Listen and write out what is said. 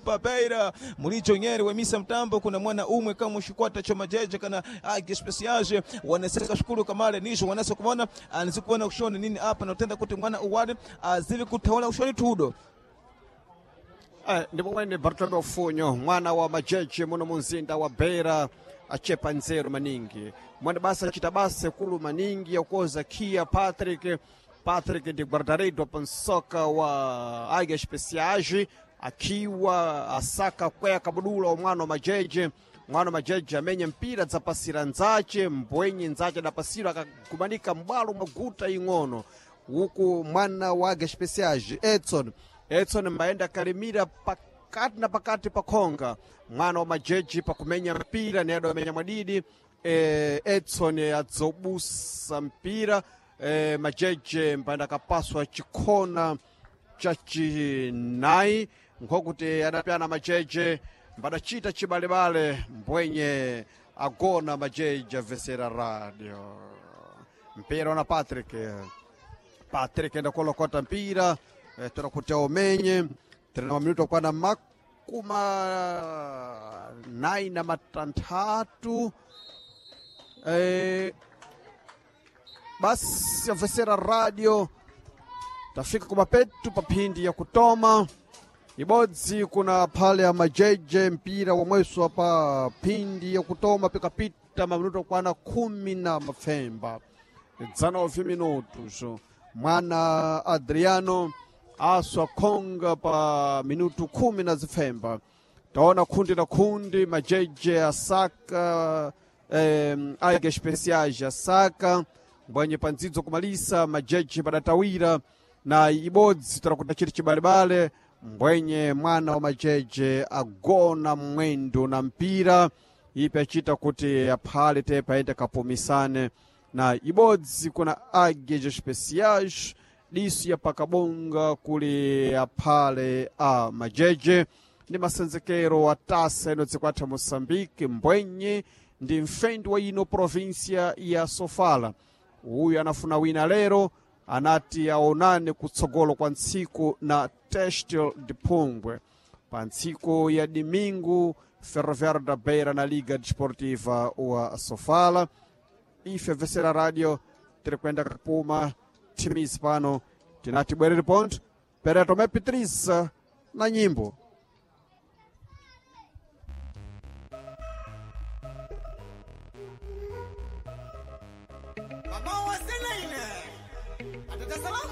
Pa Beira mulicho nyeri wemisa mtambo kuna mwana umwe kama shikwata cho majeje kana age speciage wanaseka shukuru kamale nisho wanasa kuona anazikuona ushoni nini hapa na utenda kuti mwana uwale azili kutawala ushoni tudo. Ndipo mwene Bartolomeu Funyo mwana wa majeje muno munzinda wa Beira achepa nzeru maningi mwene basa achita basa kulu maningi yakuoza kia Patrick. Patrick ndi guarda-redes pa nsoka wa Águia Especiais akiwa asaka kwea kabudula wa mwana wa majeje. Mwana wa majeje amenya mpira dzapasira nzace mbwenye nzace adapasira akagumanika mbwalo mwaguta ing'ono huku mwana wa Águia Especiais Edson. Edson mbaenda kalimira pakati na pakati pa khonga mwana wa majeji pakumenya mpira neado amenya mwadidi Edson adzobusa mpira majeje mbaenda kapaswa chikhona chachinayi nkhokuti adapyana majeje mbadacita chibalebale mbwenye agona majeje avesera radio mpira na Patrick. Patrick enda kolokota mpira tera kuti aumenye tena maminuto akwana 46 basi avesera radio tafika kumapetu paphindi ya kutoma ibodzi kuna phale ya majeje mpira wamweso pa phindi ya kutoma pikapita maminuto akwana 10 na mafemba 19 minutos mwana Adriano aswa khonga pa minutu 10 na zifemba. Taona kundi na kundi majeje asaka Águia Especiais asaka mbwenye pandzidzo kumalisa majeje padatawira na ibodzi tarakuta chiri chibalebale mbwenye mwana wa majeje agona mwendo na mpira ipi achita kuti aphale te paende kapumisane na ibodzi kuna Águias Especiais diso ya pakabonga kuli aphale a majeje ndi masenzekero a tasa inodzikwatha Moçambique mbwenye ndi mfendi wa ino província ya Sofala. Uyu anafuna wina lero anati aonane kutsogolo kwa ntsiku na Testil de Pungwe pa ntsiku ya domingo Ferroviário da Beira na Liga Desportiva wa Sofala. Ife vesera radio tiri kuenda kapuma thimisi pano tinati bwerere ponto pera tome pitrisa na nyimbo.